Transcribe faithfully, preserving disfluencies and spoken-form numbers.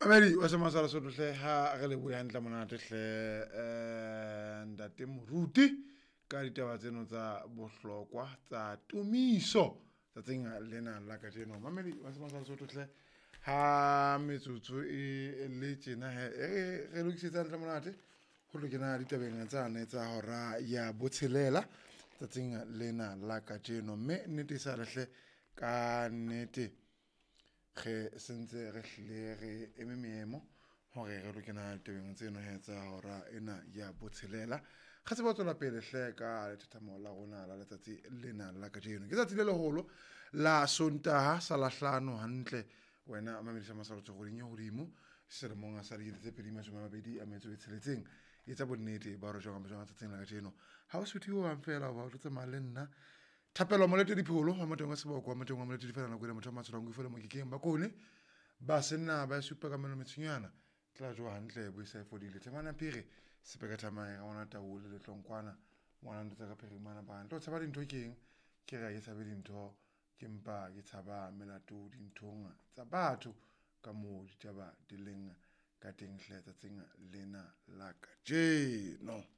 Mamedi wa Sema sa Lesotho hle, ha re lebohe hantle monate hle, eh ntate Moruti ka ditaba tseno tsa bohlokwa tsa tumiso tsatsing lena la kajeno. Mamedi wa Sema sa Lesotho hle, ha metsotso e le tjena he, e re lokisetsa hantle monate ho tlo kena ditabeng tsane tsa hora ya botshelela tsatsing lena la kajeno. Mme nnete e sa le hle, ka nnete re sentse re hlile re eme meemo hore re lo kena ditabeng tseno he tsa hora ena ya botshelela. Re tsebe ho tswela pele hle ka lethathamo la rona la letsatsi lena la kajeno. Ke tsatsi le leholo la Sontaha sa Lahlano hantle wena mamedisa Masalotso kgweding e hodimo selemong sa dikete tse pedi mashome a mabedi a metso e tsheletseng. Etsa bonnete ba hore jwang kapa jwang tsatsing la kajeno ha o suthe ho hang fela hoba o tlo tsamaya le nna Thapelo Molete Dipholo wa Moteng wa Seboko wa Moteng wa Molete Difela nako ena motho wa matsholo a fela mokekeng bakone ba senna ba supa ka meno metshonyana tla jowa hantle bo sa e fodile themana phiri sepeka thamae ngwana tau le letlonkwana ngwana ntho tsa ka phirimana ba ntlo tshaba dintho keng ke re ke tshabe dintho ke mpa ke tshaba melato dinthong tsa batho ka moo ditaba di leng ka teng hle tsatsing lena la kajeno.